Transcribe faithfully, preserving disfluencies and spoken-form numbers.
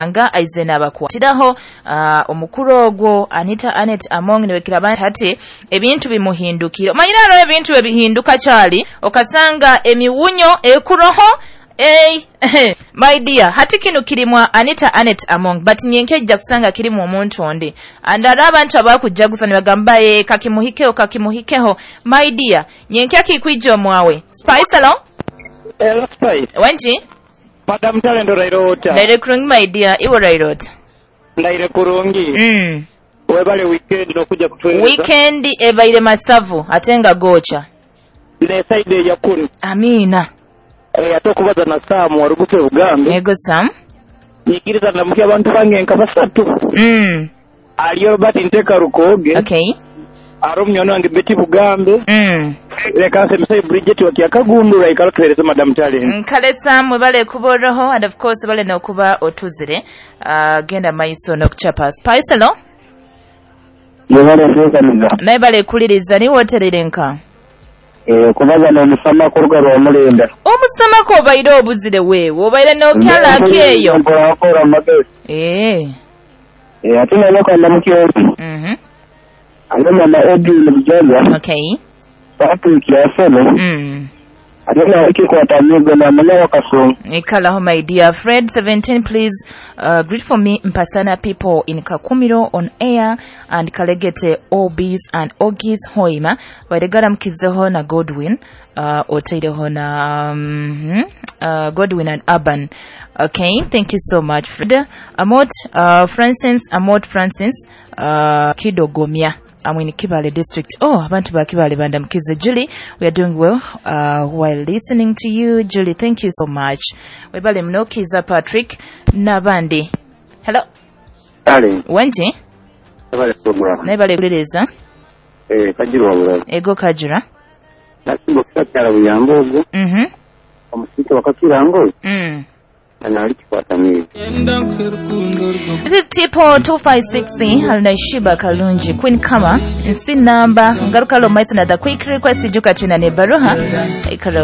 Nga aize n'abakwatiraho uh, omukuru ogwo Anita Anet Among niwekiraba hati ebintu bimuhindukire. Omanyire hariho ebintu ebihinduka kyali okasanga emiwunyo ekuroho. Hey, my dear, hati kinu kirimwa Anita Anet Among, but nyenke ejja kusanga kirimu omuntu ondi. And hariho abantu abakujaguza nibagamba, "Eh, kakimuhikeho, kakimuhikeho." My dear, nyenke akikwija omwawe. Spice, hello? Hello, Spice. Wenji? Madam Talent, oraire ota? Ndaire kurungi, my dear, iwe oraire ota? Ndaire kurungi. Mm. Webale weekend n'okujja kutuweereza. Weekend ebaire masavu ate nga gookya. N'esaidi eyakunu. Amiina. Eh, ate okubaza na Sam waruguse Bugambe. Ego Sam. Nyikiriza ndamukya abantu bange nka basatu. Mm. Aliyo Robert Nteka Rukooge. Okay. Ari omunywani wange Betty Bugambe. Mm. Leka nse Bridget wakyakagundura ikalo tuweereze Madam Talent. Nkale Sam, webale kuba oroho, and of course bale n'okuba otuzire. Uh, genda maiso n'okuchapa. Spice, hello? Yebale nteekaniza. Naye bale kuliriza niwe oterere nka. Eh, kubaza n'omusama kuruga lwa Mulenda. Omusamako obaire obuzire weewe, obaire n'okyalaaki eyo. Nkorakora amagezi. Eh. Eh, ate nanoka ndamukyozi. Mhm. Ate mama Edwin Bujaga. Okay. Patrick Yasolo. Mm. Ate nawe kikwata amigo na mwana wa Kasongo. Ikalaho, my dear Fred seventeen, please uh, greet for me Mpasana people in Kakumiro on air and Kalegete Obis and Ogis Hoima. Wairegara mkizeho na Godwin uh, otaireho na um, uh, Godwin and Urban. Okay, thank you so much, Fred. Amot uh, Francis, Amot Francis uh, Kidogomia. I'm in Kibale district. Oh, abantu ba Kibale bandamkize. Julie, we are doing well uh, while listening to you. Julie, thank you so much. Webale mno Kiza Patrick nabandi. Hello. Talent. Wenji? Webale program. Naye bale kuliriza. Eh, kajirwa bulalu. Ego kajira. Nasimba okusakyala buyambo ogwo. Mhm. Omusika wakakirango. Mm. Ana alikikwata mizi. This is Tipo two five six Halina Shiba Kalunji Queen Kama nsi namba ngaruka lo maiso na the quick request juka tuna ne baruha ikalo.